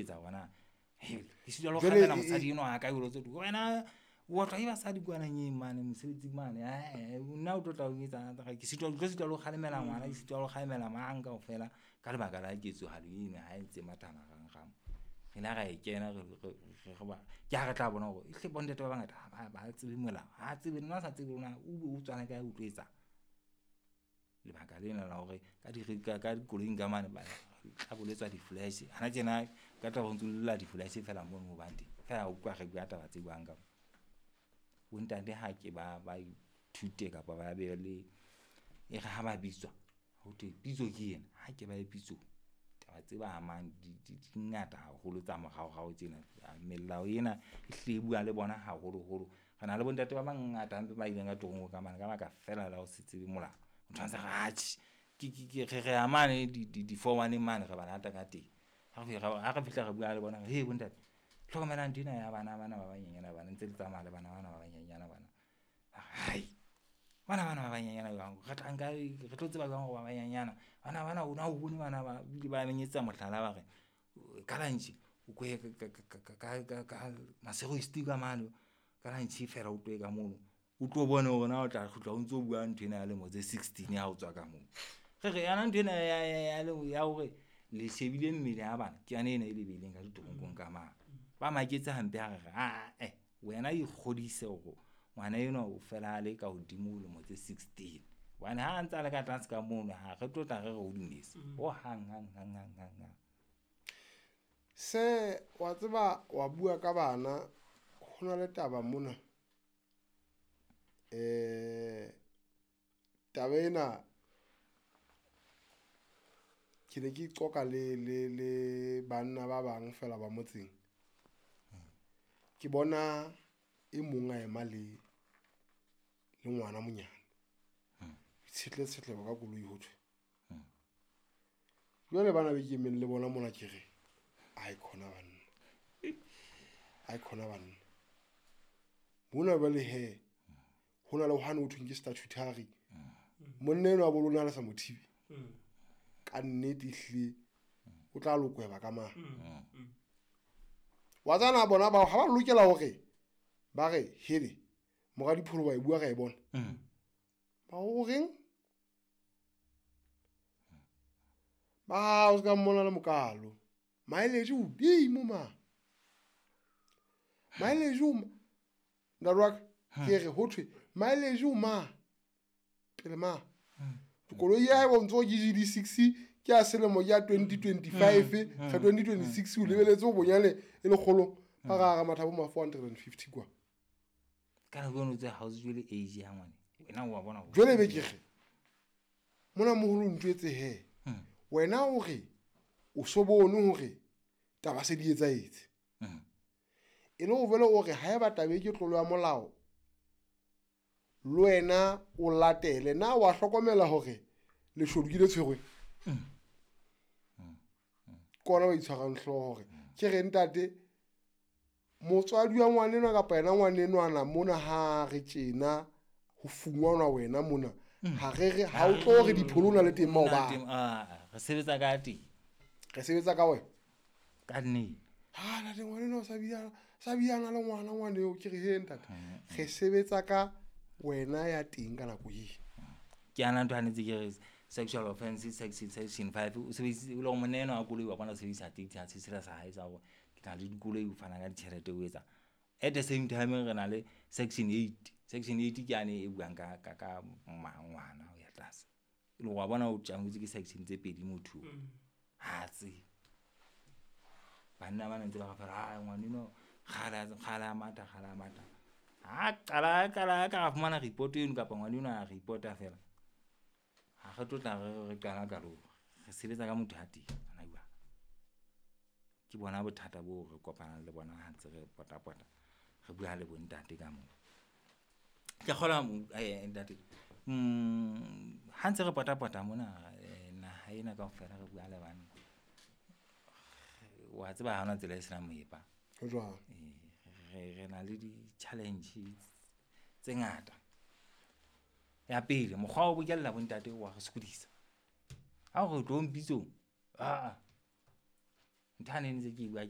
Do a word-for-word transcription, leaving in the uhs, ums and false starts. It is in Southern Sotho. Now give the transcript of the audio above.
Etsa bona ke sitwa le ho Jwale kgalemela e- e- mosadi enwa wa ka jwalo tse wena o otlwa ke basadi kwana nyeng mane mosebetsing mane, ae nna o tlo tla o etsa ke sitwa ke tlo sitwa le ho kgalemela ngwana, ke sitwa le ho kgalemela mang kaofela ka lebaka la ketsohalo eno ha e ntse matha marangrang. Re ile ra e kena re re re ba ke ha re tla bona hore ehlile bontate ba bangata ha ba ba tsebe molao, ha tsebe nna o sa tsebe hore na o be o tswa kae o tlo etsang. Lebaka lena la hore ka di ka ka dikoloing ka mane ba tla boletswa di-flash hana tjena ka taba ho ntso lla di-flash feela mono mo bang teng. Feela utlwa re bua taba tse jwang ka mo. Bontate ha ke ba ba ithute kapa ba be le e re ha ba bitswa ho thwe pitso ke ena, ha ke ba ye pitsong. Taba tse ba amang di di di ngata haholo tsa moraorao tjena. Melao ena e hlile e bua le bona haholoholo. Re na le bontate ba bangata hampe ba ileng ka toronko ka mane ka baka feela la ho se tsebe molao. Motho a ntse re atjhe ke ke ke re re ya mane di di di-four one mane re ba lata ka teng. Ha re ha re fihla re bua le bona he bontate hlokomelang nthwena ya bana bana ba banyenyana bana ntse le tsamaya le bana bana ba banyenyana bana. Hai bana bana ba banyenyana jwang re tla nka re tlo tseba jwang hore ba banyenyana bana bana o na o bone bana ba bile ba menyetsa mohlala ba re ka lunch o ko ye ka ka ka ka ka Maseru East ka mane ka lunch feela o tlohe ka mono o tlo bone hore na o tla kgutla o ntso bua nthwena ya lemo tse sixteen ha o tswa ka moo. Re re yana nthwena ya ya ya ya hore le shebile mmele ya bana ke yona ena e le beileng ka ditoronkong ka mane. Ba maketse hampe ha re re ae wena ikgodise hore ngwana enwa o fela a le ka hodimo ho lemo tse sixteen. Hobane ha ntsa le ka tlase ka mono ha re tlo tla re re o dumetse ho hang hang hang hang hang hang. Se wa tseba wa bua ka bana ho na le taba mona. Eh taba ena ke ne ke qoqa le le le banna ba bang fela ba motseng. Ke bona e mong a ema le le ngwana monyane. Tshetle tshetlebo ka koloi ho thwe. Jwale bana be ke emeng le bona mona ke re ai khona banna. Ai khona banna. Mona ba le he ho na le hwane ho thweng ke statutory. Monna enwa wa bo lona le sa mo thibe. Ka nnete ehlile o tla lokweba ka mang. Wa tsana bona bao ha ba lokela hore ba re hele mora dipholo ba e bua ra e bona. Ba o reng? Ba o ska mmona le mokalo. Mileage o hodimo ma. Mileage o ma. Ntate wa ka, ke re ho thwe mileage o ma. Pele ma. Koloi ya hae bontso ke G D six ke ya selemo ke ya twenty twenty-five, ka twenty twenty-six o lebeletse ho bonyane e lekgolo ba ra ra mathabo ma four hundred and fifty kwa. Ka nako eno tse ha o tswe le age ya ngwane. Wena o wa bona hore Jwale be ke re mona moholo ntjwetse he. Hmm. Wena o re o so bone hore taba se di etsahetse. Hmm. E le ho vele o re haeba taba e ke tlolo ya molao le wena o latele na wa hlokomela hore leshodu ke le tshwerwe. Hmm. Hmm. Ke ona ba itshwarang hlooho hore ke re ntate motswadi wa ngwanenwa kapa yena ngwanenwana mona ha re tjena ho fungwanwa wena mona ha re re ha o tlo re dipholo na le teng maobane. Ah, re sebetsa ka teng. Re sebetsa ka wena. Ka nnete. Ha ntate ngwanenwa o sa bia, sa biana le ngwana ngwane eo ke re he ntate. Re sebetsa ka wena ya teng ka nako e. Ke ana ntho a netse ke re sexual offense section, section five o sebedisitse o le hore monna enwa wa koloi wa bona o sebedisa taxi ha se sela sa hae sa hore ke na le dikoloi o fana ka ditjhelete o etsa. At the same time re na le section eight. Section eight ke yane e buang ka, ka, ka ngwana ho ya tlase. E le hore wa bona o tjangwetse ke section tse pedi motho. Ha tsebe. Banna ba ntse ba re fela, ha ngwaneno kgale kgale a matha, kgale a matha. Ha qala, qala ka ra fumana report eno kapa ngwaneno a reporta fela. Ha re tlo tla re, re qala ka lona. Re sebetsa ka motho a teng, hona jwale. Ke bona bothata bo re kopanang le bona ha ntse re pota-pota, re bua le bontate ka moo. Ke kgolwa, eh, ntate, mm, ha ntse re pota-pota mona, eh, naha ena kaofela re bua le banna. Wa tseba ha hona tsela e senang moepa. Ho jwang? Eh, re, re na le di-challenge tse ngata. Ya pele, mokgwa wa ho bokella bontate wa re sokodisa. Ha o re tlo mpitsong, ah, Ntho ane ntse ke e bua ke